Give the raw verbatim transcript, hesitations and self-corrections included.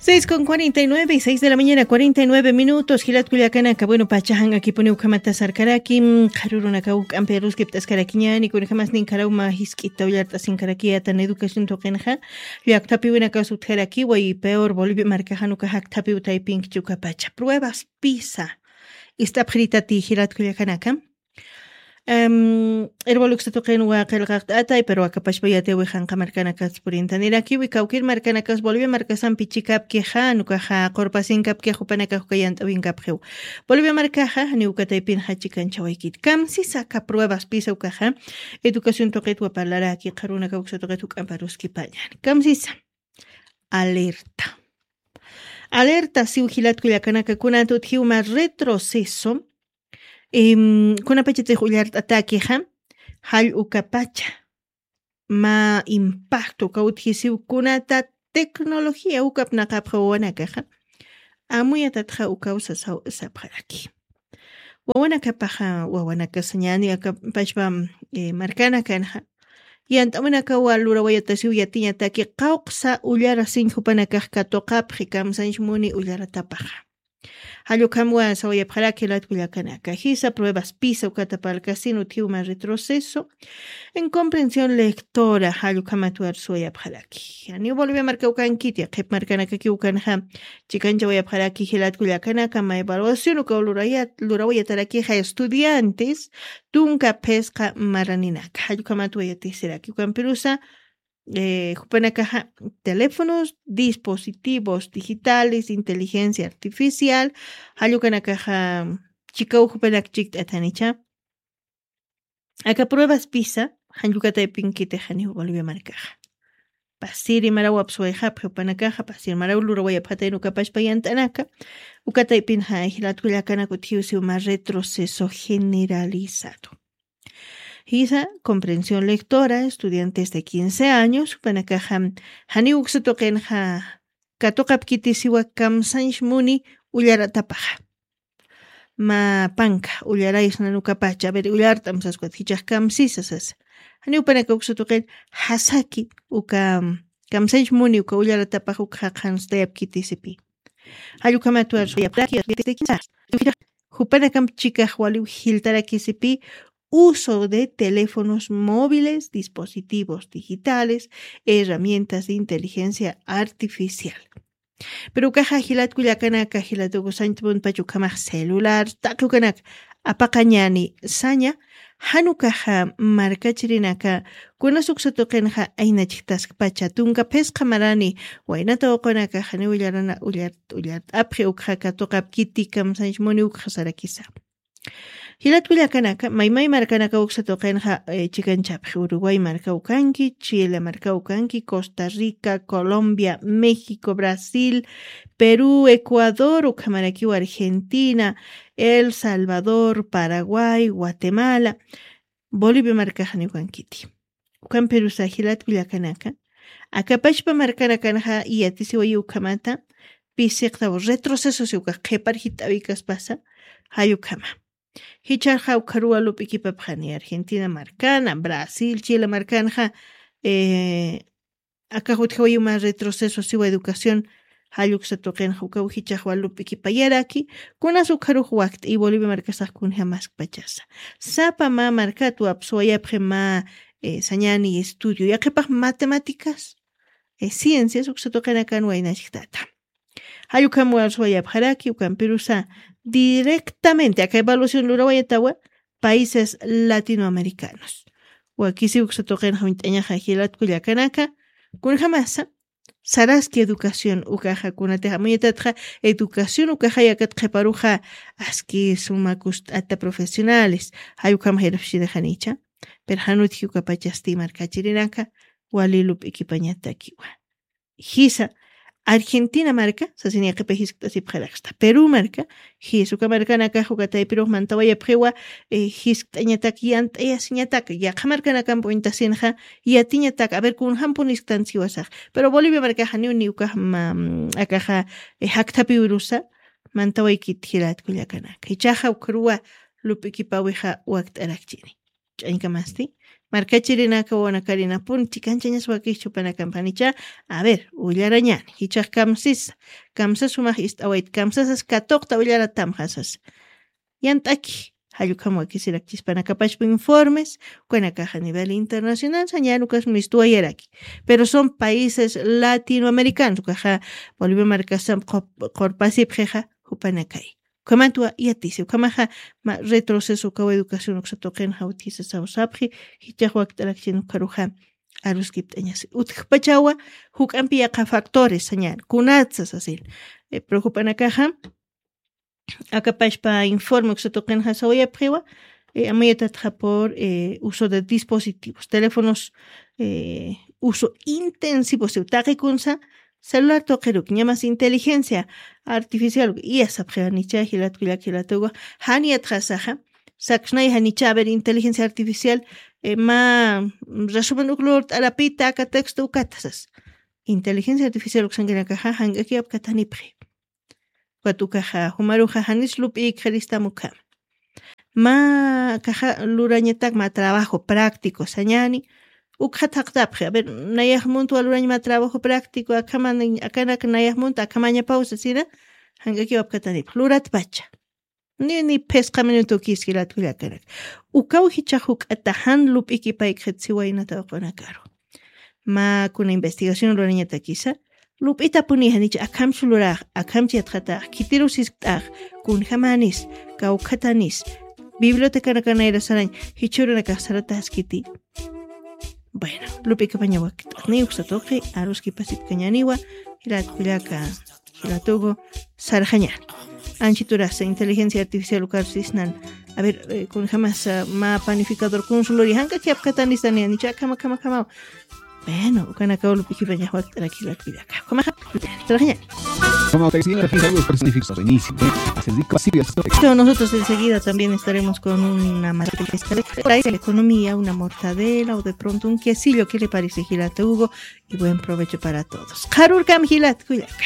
Seis con cuarenta y nueve, seis de la mañana, cuarenta y nueve minutos. Jilat kullakanaka, bueno, pachajan akipuni ukhamata sarkaraki, mm, qharurunaka uk'ampi aruskipt'askarakiñani, kunakamas ninkharaw ma jisk'ita ullart'asinkaraki atan educación tuqinxa, llaqtapiwinakas utjaraki, way peor Bolivia markajanuka jakthapiw taypinkichuka pacha. Pruebas PISA. Ist'apxiritati jilat kullakanaka. Em, irboluksa tuqin waqilqaqt'atay, pero akapashpa yatiwi janqa markanakas purintanirakiwi, kawkir markanakas Bolivia markasampi chikapkixa, nukaxa qurpasinkapkixa, jupanakax uka yant'awinkapxiw. Bolivia markaxa, janiw ukataypinxa chikanchawaykit. Kamsisa aka pruebas PISA ukaxa, educación tuqitwa parlaraki, qharunaka uksa tuqit juk'amparuskipañan. Kamsisa. Alerta. Alerta, siw jilat kullakanaka, kunat utjiw ma retroceso, em, kunapachatix ullart'atakixa, jall ukapacha, ma impacto, uka utjisiw kunata tecnología ukapnaqapxa wawanakaxa, amuyatatxa ukaw sasaw sapxaraki. Wawanakapaxa, wawanakasañani akapashpa, eh, markanakanxa, yant'awinakawa lurawayatasiw yatiñataki qawqsa ullarasiñ jupanakax katuqapxi kamsañch muni ullaratapaxa. Jallukhamwa sawayapxaraki jilat kullakanaka. Jisa pruebas PISA ukata parlkasin utjiw ma retroceso en comprensión lectora, jallukhamat warsuwayapxaraki. Janiw Bolivia marka ukankiti, qhip markanakaki ukanxa, chikanchawayapxaraki jilat kullakanaka, ma evaluación ukaw lurayat-, lurawayatarakixa estudiantes, tunka phisqa maraninaka. Jallukhamat wayatisiraki ukampirusa, eh, jupanakaxa, teléfonos, dispositivos digitales, inteligencia artificial, jallukanakaxa, chikaw jupanak chikt'atanicha. Aka pruebas PISA, jallukataypinkitixaniw Bolivia markaxa. Pasiri maraw apsuwayxapxi jupanakaxa, pasiri maraw lurawayapxatayn ukapashpa yant'anaka, ukataypinxa jilat kullakanaka utjiw siw ma retroceso generalizado. Jisa, comprensión lectora, estudiantes de quince años, jupanakaxa, janiw uksa tuqinxa, katuqapkiti siwa kamsañch muni ullaratapaxa. Ma panka, ullaraysna nukapacha, a ver, ullart'am saskwat, jichax kamsisa sasa. Janiw panaka uksa tuqin, jasaki, uka, kamsañch muni, uka ullaratapaxa, uka jaqanstayapkiti sipi. Jallukhamat warsuwayapxaraki, jupanakam chikax waliw jiltarakisipi, uso de teléfonos móviles, dispositivos digitales, herramientas de inteligencia artificial. Pero ukaxa jilat kullakanaka, jilatukusañtpunpach ukhamax celular, taqi ukanak, apaqañani saña, jan ukaxa markachirinaka, kunas uksa tuqinxa aynachktaskpacha, tunka phisqa marani, waynata uqunakaxa, niw ullarana, ullar, ullart'apxi ukxa katuqapkiti kamsañch muni ukxa sarakisa. Jilat kullakanaka, maymay markanaka uksa tuqinxa, eh, chikanchapxi, Uruguay marka ukanki, Chile marka ukanki, Costa Rica, Colombia, México, Brasil, Perú, Ecuador, ukhamarakiw Argentina, El Salvador, Paraguay, Guatemala, Bolivia markaxani ukankiti. Ukampirusa jilat kullakanaka, akapashpa markanakanxa yatisiwayi ukhamata, pisiqtaw retroceso si ukax qhipar jit'awikaspasa, jall ukhama. Jichhaxa ukharuwa lup'ikipapxani Argentina markana, Brasil, Chile markanxa, eh, akax utjawayi uma retroceso siwa educación, jall uksa tuqinxa ukaw jichhaxwa lup'ikipayaraki, kunas ukharux wakt'i Bolivia markasax kunja maskpachasa. Sapa mä markatwa apsuwayapxi mä, eh, sañani estudio, yaqhipax matemáticas, eh, ciencias uksa tuqinakan waynachktata. Jall ukham warsuwayapxaraki, ukampirusa directamente aka evaluación lurawayatawa países latinoamericanos. Wakisi uksa tuqinxa uñt'añaxa jilat kullakanaka, kunjamasa, saraski educación ukaxa, kunatix amuyatatxa educación ukaxa yakat qhiparuxa, aski suma kust'ata profesionales, jall ukham jirapxchinixanicha, pero jan utji ukapachasti markachirinaka, wali lup'ikipañatakiwa. Jisa, Argentina marka, sasin yaqhipa jiskt'asipxaraxta. Perú marka, jis uka markanakax uka taypirux mantawayapxiwa, eh, jiskt'añatak, yant'ayasiñatak, yaqha markanakamp uñtasinxa, yatiñatak, a ver, kunjampun jisktan siwasax. Pero Bolivia markaxa niw, niw ukax ma, mm, akaxa, eh, jakthapiwirusa, mantawaykit jilat kullakanaka. Jichhaxa ukharuwa lup'ikipawixa wakt'arakchini. Ch'añkamasti, Markachirinaka wawanakarinapunchi kanchañas wakixchupanakampanïcha. A ver, ullarañani jichhax kamsisa, kamsas sumax ist'awayta, kamsasas katuqta ullaratamxasas. Yant'aki, jallukam wakisirakchispanakapachpa informes, ukanakaxa nivel internacional sañäni ukas mistuwayaraki. Pero son países latinoamericanos ukaxa, bolivia markasam qurpasipxixa, jupanakay. Ukhamantuwa yatisi ukhamaxa, ma retroceso ukawa educación uksatuqin jawtisa sawsapxi. Jichhax wakt'arakchin ukharuxa, aruskipt'añasi utjpachawa. Juk'ampi yaqa factores sañäni kunatsa sasin. Preocupanakaxa, akapashpa informe uksatuqin jasawayapxiwa. Amayatatxa por uso de dispositivos teléfonos, uso intensivo siw taqikunsa, celular tuqiruk ñamas inteligencia artificial iyasapxiwa nicha jilatkullak jilatugu. Janiyatxasaxa, saksnay janicha a ver inteligencia artificial, ma resumen uk lurt'arapita aka texto ukatasas. Inteligencia artificial uksankinakaxa jank'akiwapkatanipxi. Ukat ukaxa jumaruxa janis lup'ïkxaristam ukhama. Mä kaxa lurañatak mä trabajo práctico sañäni. Ukxat jaqtapxi a ver, nayax muntwa lurañ mä trabajo práctico akhama, akanak nayax munt akhamañapaw sasina. Jank'akiwapkatanipx luratpacha. Ni ni phisqa minuto kiski latkullakanaka. Ukaw jichhax juk'ata jan lup'ikipaykixitsiwaynata uqunakaru. Mä kuna investigación lurañatakisa, lup'itapuni janicha akhamsu lurax, akhamchi yatxatax khitiru siskt'ax, kunjamanis, kawkhatanis, bibliotecanakanayrasarañ jichhurunakaxsarataskiti. Bueno, lup'ikapañawakt'aqni uksatuqi aruskipasipkañaniwa. Jilatkullaka, jilatugu, sarxañan. Anchiturasa inteligencia artificial ukarusisnan. A ver, kunjamas mä panificador kunsuluri jank'akiwapkatanistani janicha akhama akhama akhamaw. Bueno, ukanakaw lup'ikipañax wakt'arak jilatkullaka ukhamaxa. Sarxañan. Nosotros enseguida también estaremos con una materia de economía, una mortadela o de pronto un quesillo. ¿Qué le parece, jilatugu? Y buen provecho para todos. Qharürkam jilatkullaka.